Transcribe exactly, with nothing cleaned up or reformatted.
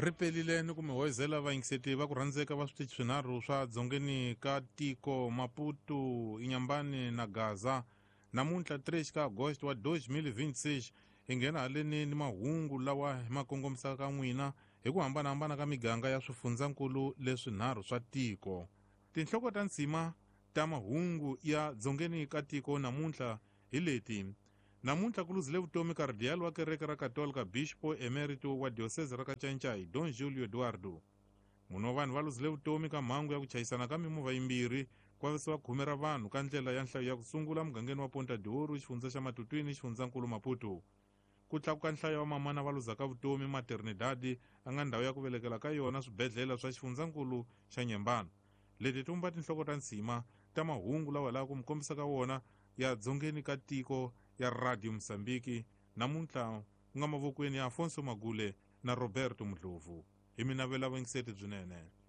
Ri pelile ni ku mi hoyizela vayingiseti va ku rhandzeka va switichi swinharhu swa dzongeni ka tiko Maputo, Inyambani na Gaza. Namuntlha três ka Agosto wa dois mil e vinte e seis hi nghena haleni ni mahungu lawa hi ma kongomisaka ka n'wina hi ku hambanahambana ka miganga ya swifundzankulu leswinharhu swa tiko. Tinhloko ta nsima ta mahungu ya dzongeni ka tiko namuntlha hi leti. Namuntlha ku luzile vutomi kardiyali wa kereke ra Katolika Bispo Emerito wa diocese ra Kacancai Don Julio Eduardo. Mune wa vanhu va luzile vutomi ka mhangu ya ku chayisana ka mimovha yimbirhi ku vavisiwa khume ra vanhu ka ndlela ya nhlayo ya ku sungula mugangeni wa Ponta de Ouro, xifundza xa Matutwini, xifundzankulu Maputo. Ku tlakuka nhlayo ya vamamana va luzaka vutomi Maternidade a nga ndhawu ya ku velekela ka yona swibedhlele swa xifundzankulu xa Nyembana. Leti ti vumba tinhloko ta nsima ta mahungu lawa laha ku mi kombisa ka wona ya dzongeni ka tiko ya Radio Mozambique namuntlha ku nga mavokweni ya Afonso Magule na Roberto Mudlovu. Hi mi navela vuyingiseti byinene.